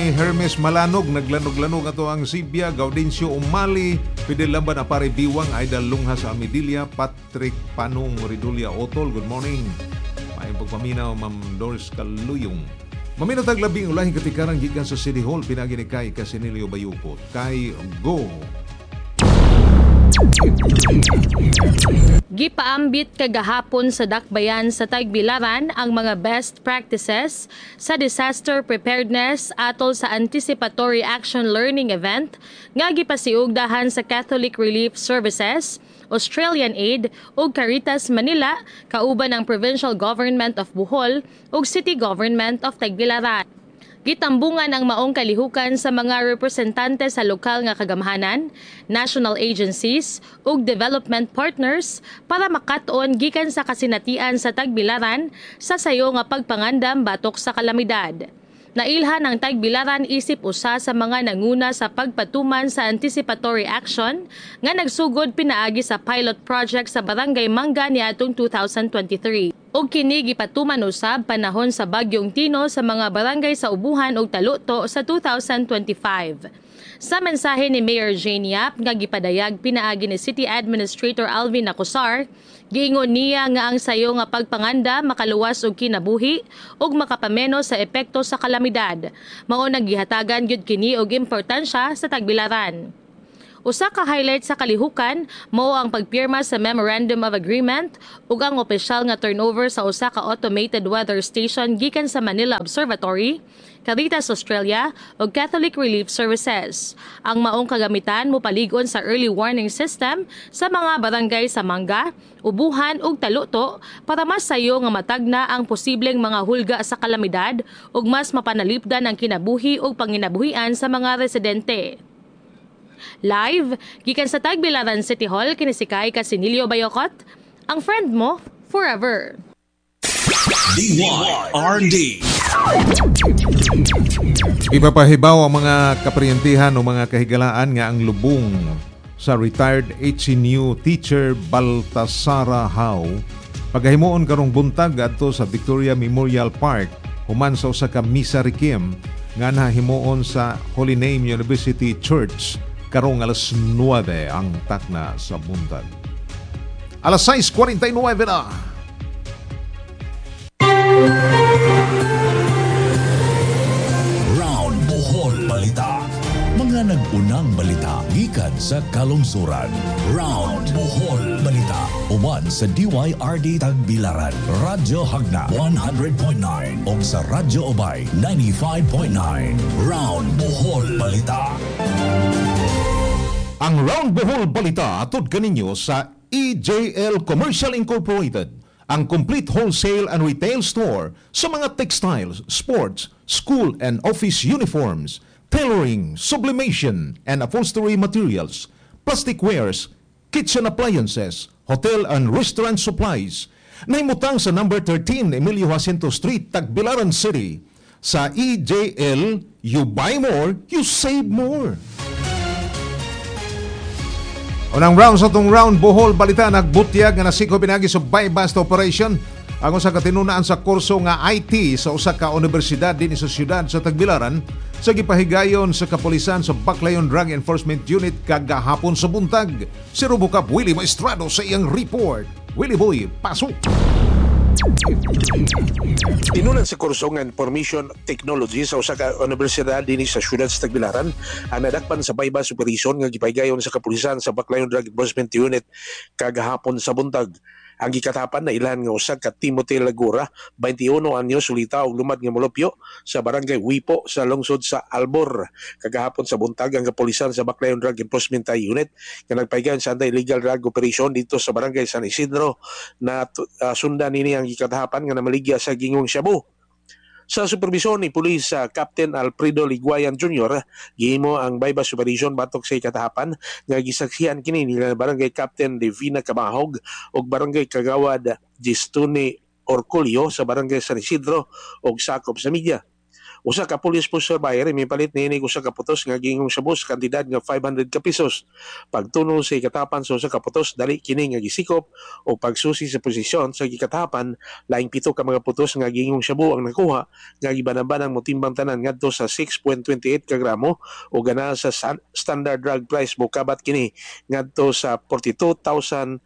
ni Hermes Malanog, naglanog-lanog ato ang Sibya, Gaudencio Umali, Fidel Lamban Apare Biwang, Aida Lunghas Amidilia, Patrick Panong Ridulia Otol, good morning. Maayong pagpaminaw, Ma'am Doris Kaluyong. Maminaw tag labing ulahing katikaran gikan sa City Hall, pinagi ni Kay Casinilio Bayukot. Kay go! Gipaambit kagahapon sa Dakbayan sa Tagbilaran ang mga best practices sa disaster preparedness atol sa Anticipatory Action Learning Event nga gipasiugdahan sa Catholic Relief Services, Australian Aid ug Caritas Manila kauban ang Provincial Government of Bohol ug City Government of Tagbilaran. Gitambungan ang maong kalihukan sa mga representante sa lokal nga kagamhanan, national agencies ug development partners para makat-on gikan sa kasinatian sa Tagbilaran sa sayo nga pagpangandam batok sa kalamidad. Nailhan ang Tagbilaran isip usa sa mga nanguna sa pagpatuman sa anticipatory action nga nagsugod pinaagi sa pilot project sa Barangay Mangga niadtong 2023. Ug kini gipatuman usab panahon sa Bagyong Tino sa mga barangay sa Ubuhan ug Taluto sa 2025. Sa mensahe ni Mayor Jane Yap nga gipadayag pinaagi ni City Administrator Alvin Acosar, giingon niya nga ang sayo nga pagpanganda makaluwas og kinabuhi ug makapameno sa epekto sa kalamidad. Mao nang gihatagan gyud kini og importansya sa Tagbilaran. Usa ka highlight sa kalihukan mao ang pagpirma sa Memorandum of Agreement ug ang opisyal nga turnover sa usa ka automated weather station gikan sa Manila Observatory, Caritas Australia ug Catholic Relief Services. Ang maong kagamitan mopalig-on sa early warning system sa mga barangay sa Mangga, Ubuhan ug Taluto para mas sayo nga matagna ang posibleng mga hulga sa kalamidad ug mas mapanalipdan ang kinabuhi ug panginabuhian sa mga residente. Live, gikan sa Tagbilaran City Hall, kini si Kai Casinillo Bayokot, ang friend mo forever. DYRD. Ipapahibaw ang mga kaparyentihan o mga kahigalaan nga ang lubong sa retired HNU teacher Baltasara Howe pagahimuon karong buntag adto sa Victoria Memorial Park human sa usa ka misa requiem nga nahimuon sa Holy Name University Church karong alas 9 ang takna sa buntag. Alas 6:49 na. Round Bohol Balita. Mga nag-unang balita gikan sa kalungsuran. Round Bohol Balita. Uban sa DYRD Tagbilaran, Radyo Hagna 100.9 ug sa Radyo Obay 95.9. Round Bohol Balita. Ang Round Bohol Balita atod kaninyo sa EJL Commercial Incorporated, ang complete wholesale and retail store sa mga textiles, sports, school and office uniforms, tailoring, sublimation, and upholstery materials, plastic wares, kitchen appliances, hotel and restaurant supplies. Nahimutang sa number 13 Emilio Jacinto Street, Tagbilaran City. Sa EJL, you buy more, you save more. Unang round sa tong Round Bohol Balita, nagbutyag nga nasiko pinagi sa buy-bust operation ang usa ka tinunaan sa kurso nga IT sa usa ka universidad dinhi sa siyudad sa Tagbilaran sa gipahigayon sa kapulisan sa Baclayon Drug Enforcement Unit kagahapon sa buntag. Si Robocop Willie Maestrado sa iyang report. Willie Boy, pasok! Tinunan sa kurso nga Information Technology sa usa ka universidad dinhi sa siyudad sa Tagbilaran ang nadakpan sa buy-bust operation nga gipahigayon sa kapulisan sa Baclayon Drug Enforcement Unit kagahapon sa buntag. Ang gikatapan na ilan nga usa ka Timothy Lagura, 21 anyos, sulita og lumad nga molupyo sa barangay Wipo sa lungsod sa Albor. Kagahapon sa buntag ang kapulisan sa Baclayon Drug Enforcement Unit nga nagpahigayon sa anti-illegal drug operation dito sa barangay San Isidro na sundan nini ang gikatapan nga namaligya sa gingong shabu. Sa supervisyon ni Police Captain Alfredo Liguayan Jr., gihimo ang buy-bust operation batok sa ikatahapan nga gisaksihan kini nila Barangay Captain Divina Cabahog ug Barangay Kagawad Gistone Orcolio sa Barangay San Isidro ug sakop sa media. Usa ka police poseur buyer mipalit niini usa ka putos nga giingong shabu sa kantidad nga 500 ka pesos. Pagtunol sa ikatapan sa usa ka putos, dali kini nga gisikop o pagsusi sa posisyon sa gikatapan, laing 7 ka mga putos nga giingong shabu ang nakuha nga gibanabanang motimbang tanan ngadto sa 6.28 ka gramo o gana sa standard drug price mokabat kini ngadto sa 42,704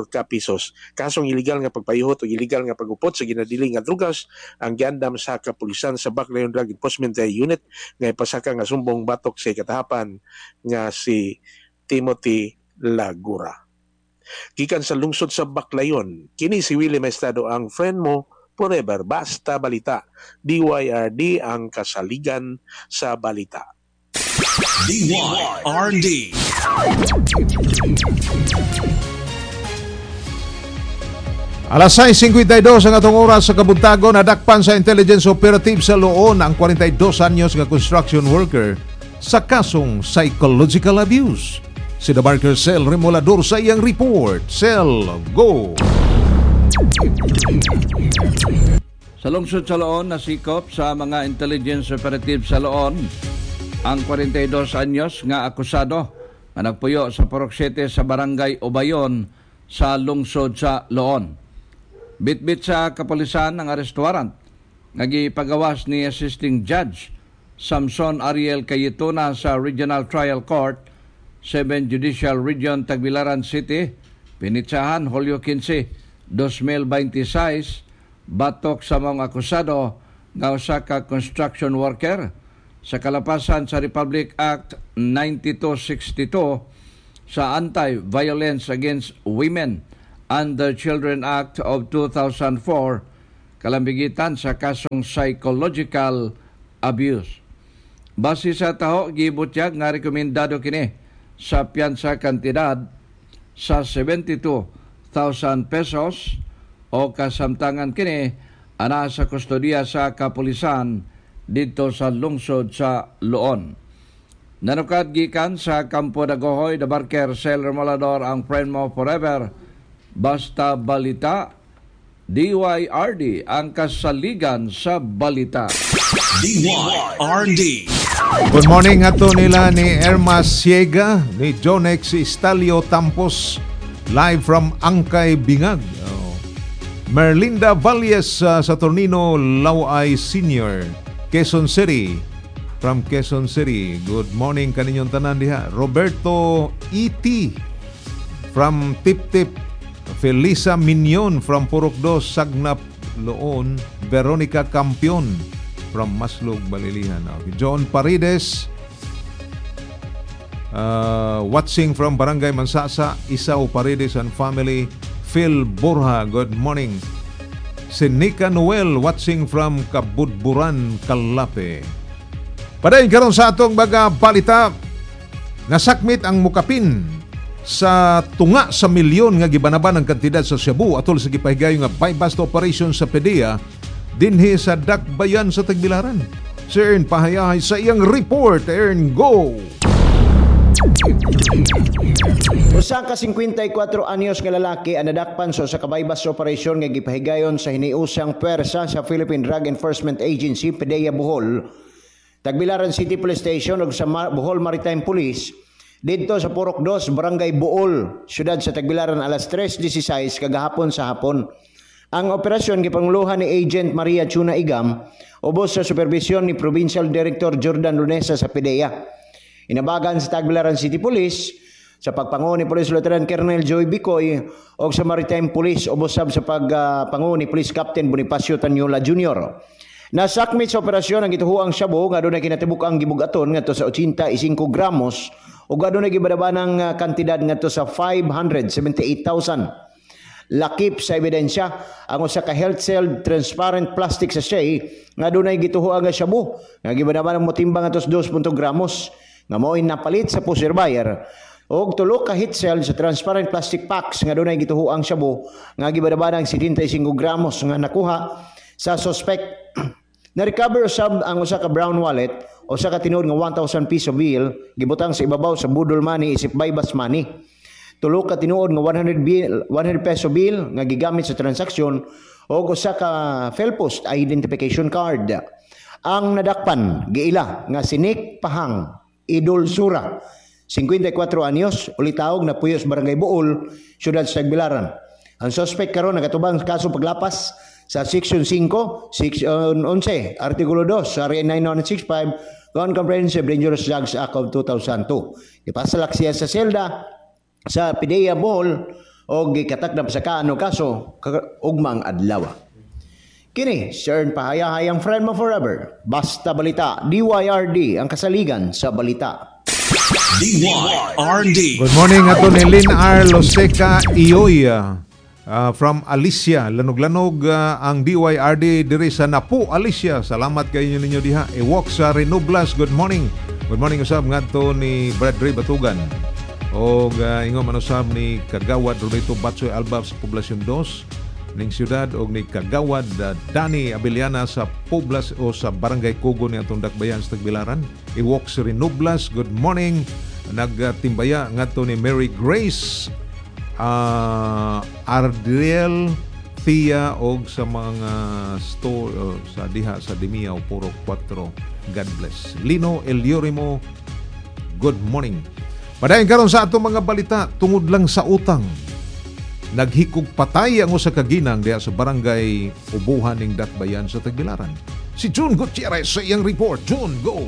ka pesos. Kasong illegal nga pagpayuhot o illegal nga pagupot sa ginadili nga drugas ang giandam sa kapulisan sa Baclayon Drug Enforcement Unit nga ipasaka nga sumbong batok sa ikatahapan nga si Timothy Lagura. Gikan sa lungsod sa Baclayon, kini si Willie Maestado, ang friend mo forever. Basta balita. DYRD, ang kasaligan sa balita. DYRD. Alas 6:52 ang atong oras sa kabuntagon, nadakpan sa intelligence operative sa Loon ang 42 anyos nga construction worker sa kasong psychological abuse. Si The Barker Cell Remolador sa iyang report. Cell, go! Sa lungsod sa Loon, nasikop sa mga intelligence operative sa Loon ang 42 anyos nga akusado nga nagpuyo sa Purok 7 sa Barangay Obayon sa lungsod sa Loon. Bitbit sa kapulisan ang arrest warrant nga gipagawas ni Assisting Judge Samson Ariel Cayetona sa Regional Trial Court, 7 Judicial Region, Tagbilaran City, pinitsahan Hulyo 15, 2026, batok sa mga akusado nga usa ka construction worker sa kalapasan sa Republic Act 9262 sa Anti-Violence Against Women and the Children Act of 2004, kalambigitan sa kasong psychological abuse. Base sa taho, gibutyag nga rekomendado kini sa piyansa kantidad sa 72,000 pesos o kasamtangan kini ana sa kustodiya sa kapulisan dito sa lungsod sa Loon. Nanukad gikan sa Kampo Dagohoy, The Barker, Sel Remolador, ang friend mo forever. Basta balita, DYRD, ang kasaligan sa balita. DYRD. Good morning ato nila ni Erma Siega, ni Jonex Estalio Tampos, live from Angkay, Bingag. Oh. Merlinda Valles Saturnino Laway Senior, Quezon City. From Quezon City. Good morning kaninyong tanan diha. Roberto E.T. from Tip Tip. Felisa Minion from Purok Dos, Sagnap, Loon. Veronica Campion from Maslog, Balilihan. Okay. John Paredes, watching from Barangay Mansasa, Isaw Paredes and family. Phil Borja, good morning. Si Nika Noel, watching from Kabudburan, Calape. Padayon karon sa atong mga balita, nasakmit ang mukapin sa tunga sa milyon nga gibanaban ang kantidad sa shabu atol sa gipahigayon nga buy-bust operation sa PDEA dinhi sa Dakbayan sa Tagbilaran. Si Ern Pahayahay sa iyang report. Ern, go! Usa ka 54 anyos nga lalaki ang nadakpan sa usa ka buy-bust operation nga gipahigayon sa hiniusang puwersa sa Philippine Drug Enforcement Agency, PDEA Bohol, Tagbilaran City Police Station ug sa Bohol Maritime Police didto sa Purok 2, Barangay Buol, siyudad sa Tagbilaran alas 3:16 kagahapon sa hapon. Ang operasyon gipanguluhan ni Agent Maria Chuna Igam ubos sa supervisyon ni Provincial Director Jordan Lunesa sa PDEA. Inabagan sa Tagbilaran City Police sa pagpangu ni Police Lieutenant Colonel Joy Bicoy o sa Maritime Police ubos sab sa pagpangu ni Police Captain Bonifacio Tanyola Jr. Nasakmit sa operasyon ang gituhuang shabu nga adunay kinatibuk ang gibugaton ngadto sa 85 gramos ug adunay gibadabanang kantidad ngadto sa 578,000. Lakip sa ebidensya ang usa ka health cell transparent plastic sachet nga adunay gituhuang nga shabu nga gibadabanang motimbang ngadto sa 2 gramos nga mao'y napalit sa pusher buyer og tulo ka heat cell sa transparent plastic packs nga adunay gituhuang shabu nga gibadabanang 75 gramos nga nakuha sa suspect. Na-recover usab ang usa ka brown wallet, usa ka tinuod nga 1,000 piso bill gibutang sa ibabaw sa budol money isip buy-bust money. Tulo ka tinuod nga 100 peso bill nga gigamit sa transaksyon og usa ka PhilPost identification card. Ang nadakpan giila nga si Nick Pahang Idol Sura, 54 anyos, ulitawog na puyo sa Barangay Buol, Siyudad sa Tagbilaran. Ang suspect karon nagatubang sa kaso paglapas sa Section 5, Section 11, Artikulo 2 sa RA 9165 Con Comprehensive Dangerous Drugs Act of 2002. Ipasalak siya sa selda sa PDEA Bohol o gikatakdam sa kaano kaso ugmang adlaw. Kini, Cern Pahayahayang friend mo forever. Basta Balita, DYRD, ang kasaligan sa balita. DYRD. Good morning ato ni Lynn R. Loseca Iyoy from Alicia. Lanog-lanog ang DYRD diri sa Napo, Alicia. Salamat kayo ninyo diha. Ewok sa Renublas. Good morning. Good morning usab ngadto ni Brad Ray Batugan. Og ingon man usab ni Kagawad Rodito Batsoy Alba sa Poblacion 2 ning siyudad og ni Kagawad Danny Abellana sa Poblas o sa Barangay Kugo ni atong Dakbayan sa Tagbilaran. Iwok sa Renublas. Good morning. Nagtimbaya ngadto ni Mary Grace Ardriel Thea og sa mga store sa diha sa Dimiao Puro 4. God bless. Lino Eliorimo, good morning. Padayon karon sa atong mga balita, tungod lang sa utang. Naghikog patay ang usa ka ginang diha sa Barangay Ubuhan ning Dakbayan sa Tagbilaran. Si June Gutierrez sa iyang report. June, go!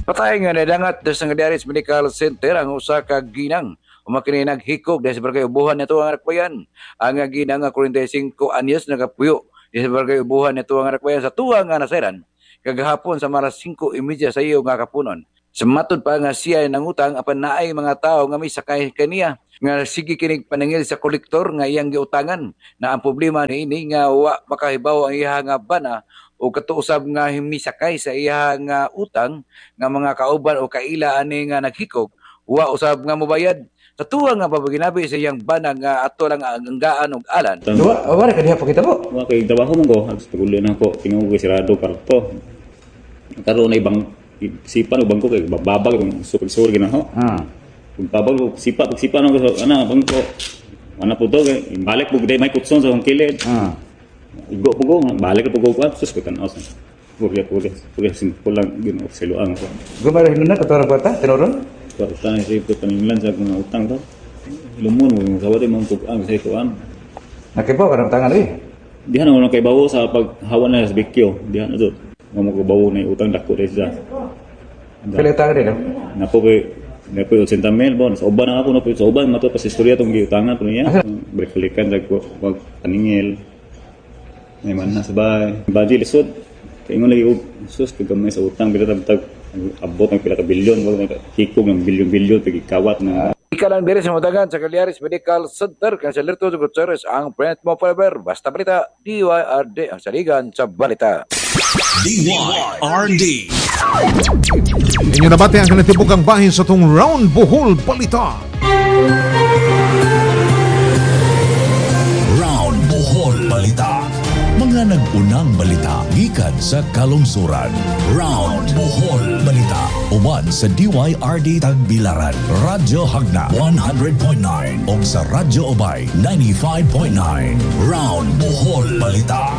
Patay nga nadangat sa Ngadiaris Medical Center ang usa ka ginang umakini naghikog dahil sa Barangay Ubuhan nito ang Dakbayan. Ang ginang nga 45 anyos nagapuyo dahil sa Barangay Ubuhan nito ang Dakbayan sa tuwa nga nasayran kagahapon sa maras 5:30 sa iyo nga kapunon. Sa matod pa nga siya nangutang apan naay mga tao nga may sakay kaniya nga sige kinig panangil sa kolektor nga iyang giutangan na ang problema niini nga wa makahibaw ang iya nga bana o katuusab nga misakay sa iya nga utang nga mga kauban o kaila ani nga naghikog wa usab nga mobayad. Sa tuwa nga pabaginabi sa iyang bana nga ato lang ang anggaan og alan. Wa ka diha pakita mo. Wa kay trabaho man ko, tugulo na ko tingo ko sirado karto. Karon ay bang sipa no bangko kay babag kung sur ginaho. Babag sipa pag sipa no ana bangko. Ana po to kay balik pug day may kutson sa akong kilid. Igo po ko, balik po ko sus ko tan-aw. Pugya simple lang gino siluang ko. Gumara hinuna katora kwarta tinuron? Kwarta na siya paninglan sa akong utang to. Lumon mo sa wala mong tug-ang sa ikuan. Nakibaw ka ng utangan eh. Diha na mo kay bawo sa paghawa na sa bikyo. Diha na to. Mo ko bawo na utang dako dai siya. Pila utang din no? Napo kay napo 80 mil bon. Sa uban na ako napo sa uban mato pa sa istorya tong giutangan po niya. Balik-balikan sa ko wag paningil. May man na sa bahay. Baji lisod. Kay ingon lagi og sus kagamay sa utang bila tag abot ang pila ka bilyon wag may hikog ng bilyon-bilyon pagikawat na. Ika lang diri sa mutagan sa Cagliaris Medical Center kay sa Lerto Gutierrez ang friend mo forever. Basta Balita, DYRD ang saligan sa balita. DYRD. Inyo nabati ang kanatibukang bahin sa tong Round Bohol Balita. Round Bohol Balita. Mga nag-unang balita gikan sa kalungsuran. Round Bohol Balita. Uban sa DYRD Tagbilaran, Radyo Hagna 100.9 ug sa Radyo Ubay 95.9. Round Bohol Balita.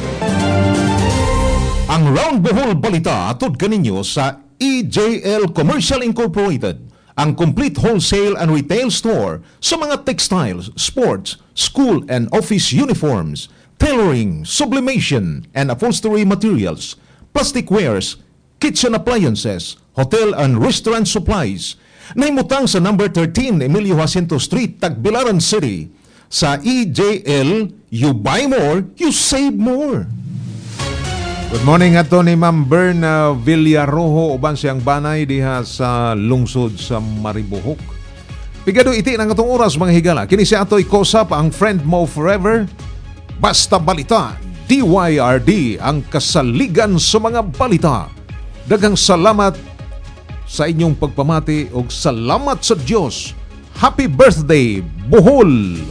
Ang Round Bohol Balita atod kaninyo sa EJL Commercial Incorporated, ang complete wholesale and retail store sa mga textiles, sports, school and office uniforms, tailoring, sublimation, and upholstery materials, plastic wares, kitchen appliances, hotel and restaurant supplies. Nahimutang sa number 13 Emilio Jacinto Street, Tagbilaran City. Sa EJL, you buy more, you save more. Good morning ato ni Ma'am Berna Villarojo uban siyang banay diha sa lungsod sa Maribohok. Pigado iti ng atong oras mga higala. Kini si Atoy Kosap ang friend mo forever. Basta Balita, DYRD ang kasaligan sa mga balita. Daghang salamat sa inyong pagpamati og salamat sa Dios. Happy birthday, Bohol!